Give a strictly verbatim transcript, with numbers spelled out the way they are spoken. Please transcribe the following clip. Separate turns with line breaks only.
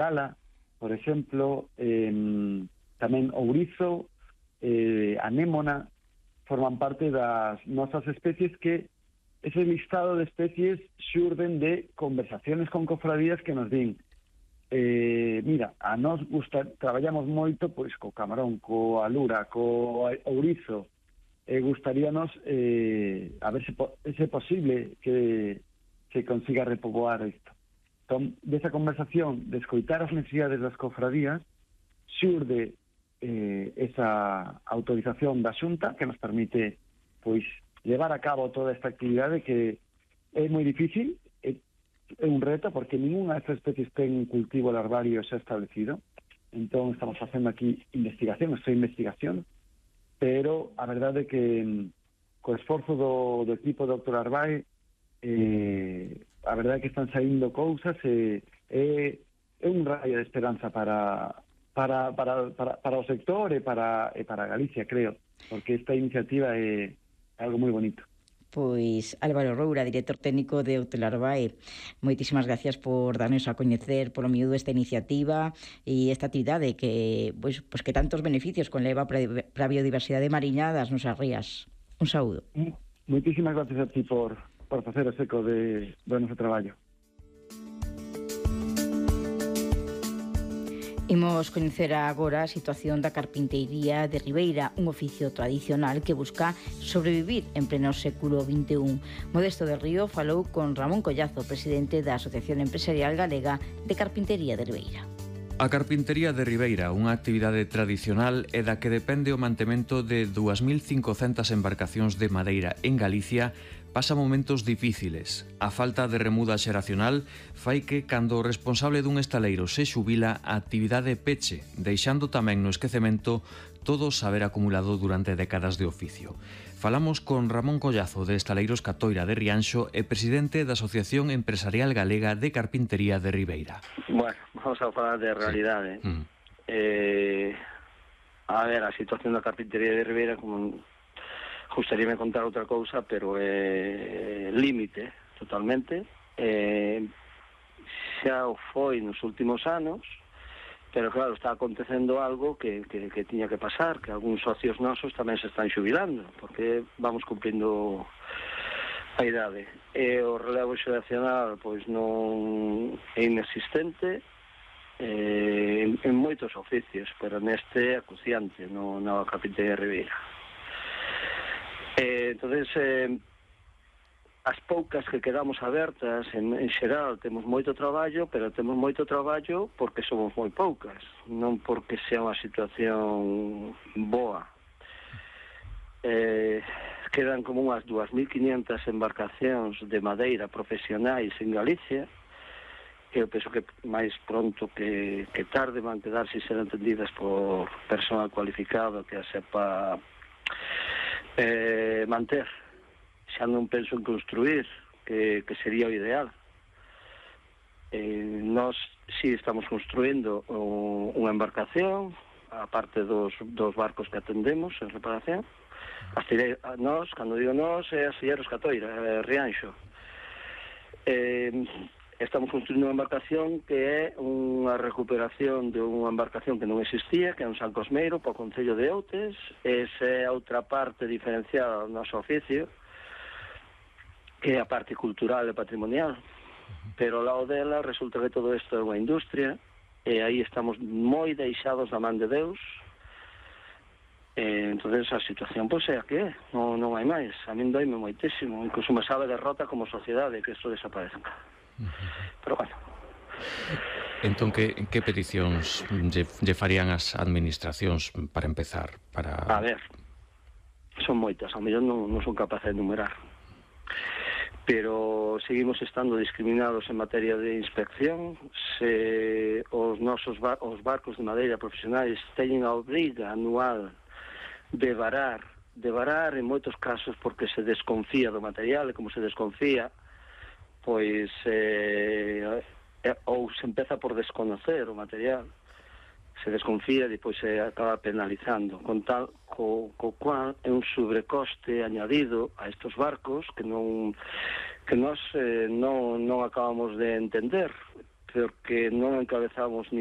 Gala, por exemplo, eh, tamén ourizo, eh, anémona, forman parte das nosas especies que ese listado de especies xurden de conversaciones con cofradías que nos din eh, mira, a nós gusta, traballamos moito pois co camarón, co alura, co ourizo, e eh, gustaríanos eh, a ver se, po se é posible que se consiga repoboar isto. Entón, desa conversación de escoitar as necesidades das cofradías xurde eh, esa autorización da Xunta que nos permite pois levar a cabo toda esta actividade que é moi difícil, é, é un reto porque ninguna destas especies ten un cultivo larvario xa establecido. Entón estamos facendo aquí investigación, esta investigación, pero a verdade é que co esforzo do, do equipo do doctor Arbae eh, a verdade é que están saindo cousas e é, é un raio de esperanza para para, para, para, para o sector e para, e para Galicia, creo, porque esta iniciativa é algo moi bonito.
Pois Álvaro Roura, director técnico de Hotelarbae, moitísimas gracias por darnos a coñecer polo miúdo esta iniciativa e esta actividade que, pois, pois que tantos beneficios conleva para a biodiversidade mariña das nosas rías. Un saúdo.
Moitísimas gracias a ti por, por facer o seco de, do noso traballo.
Imos coñecer agora a situación da carpinteiría de Ribeira, un oficio tradicional que busca sobrevivir en pleno século vinte e un. Modesto del Río falou con Ramón Collazo, presidente da Asociación Empresarial Galega de Carpintería de Ribeira.
A carpintería de Ribeira, unha actividade tradicional e da que depende o mantemento de dúas mil cincocentas embarcacións de madeira en Galicia, pasa momentos difíciles. A falta de remuda xeracional fai que, cando o responsable dun estaleiro se xubila, a actividade peche, deixando tamén no esquecemento todo o saber acumulado durante décadas de oficio. Falamos con Ramón Collazo, de Estaleiros Catoira de Rianxo e presidente da Asociación Empresarial Galega de Carpintería de Ribeira.
Bueno, vamos a falar de realidade. Sí. Mm. Eh, a ver, a situación da carpintería de Ribeira, como gustaríame contar outra cousa, pero é eh, límite totalmente. Eh, xa o foi nos últimos anos, pero claro, está acontecendo algo que, que, que tiña que pasar, que algúns socios nosos tamén se están xubilando, porque vamos cumprindo a idade. E o relevo xeracional pois non é inexistente eh, en, en moitos oficios, pero neste é acuciante, no, na carpintería de Ribeira. Eh, entonces, eh, as poucas que quedamos abertas, en, en xeral, temos moito traballo, pero temos moito traballo porque somos moi poucas, non porque sea unha situación boa. Eh, quedan como unhas dúas mil quiñentas embarcacións de madeira profesionais en Galicia, que eu penso que máis pronto que, que tarde van quedar se ser entendidas por personal cualificado que a sepa eh, manter. Xa non penso en construir, que, que sería o ideal. Eh, nós si estamos construindo o, unha embarcación, a parte dos, dos barcos que atendemos en reparación. Astille, nós, cando digo nós, é Astilleros Catoira, é Rianxo. Eh, estamos construindo unha embarcación que é unha recuperación de unha embarcación que non existía, que é un San Cosmeiro, para o Concello de Outes. Esa é outra parte diferenciada do noso oficio, que é a parte cultural e patrimonial, pero ao lado dela resulta que todo isto é unha industria e aí estamos moi deixados da man de Deus. E, entonces a situación pois é a que é, non, non hai máis. A min doime moitísimo, incluso me sabe derrota como sociedade que isto desaparezca. Pero bueno.
Entón, que, que peticións lle, lle farían as administracións para empezar? Para...
A ver, son moitas, ao mellor non, non son capaz de enumerar, pero seguimos estando discriminados en materia de inspección. Se os nosos bar os barcos de madeira profesionais teñen a obriga anual de varar, de varar en moitos casos porque se desconfía do material, e como se desconfía, pois eh, ou se empeza por desconocer o material, se desconfía e depois se acaba penalizando, con tal co, co cual é un sobrecoste añadido a estos barcos que non que nós eh, non, non acabamos de entender, porque non encabezamos